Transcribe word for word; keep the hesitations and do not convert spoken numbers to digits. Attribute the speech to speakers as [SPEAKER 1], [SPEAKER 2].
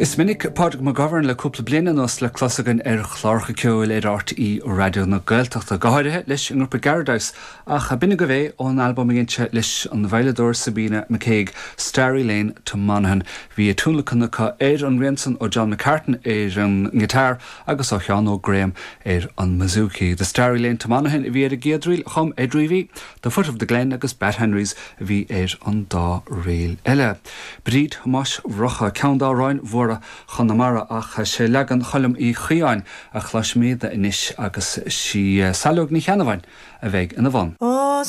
[SPEAKER 1] Is minic Pádraig McGovern le cúpla bliain anuas le clos againn ar chláracha ceoil ar R T É Raidió na Gaeltachta, go háirithe leis an ngrúpa Garadice, ach b'in agaibh é ón albam a dhein sé leis an veidhleadóir Sabina McCaig, Starry Lane to Monaghan. Bhí tionlacan acu ar an rian san ó John McCartan ar an ngiotár agus ó Sheán Óg Graham ar an mbouzouki. The Starry Lane to Monaghan a bhí ar an gcéad ríl, chum Ed Reavy, The Foot of the Glen agus Bat Henrys a bhí ar an dá ríl eile. Bríd Thomáis Mhurchadha, ceann d'amhráin mhóra Chonamara, ach sé leagan Choilm Uí Chaodháin a chloisfimid anois agus sí Saileog Ní Cheannabháin a bheidh ina bhun.
[SPEAKER 2] Ó.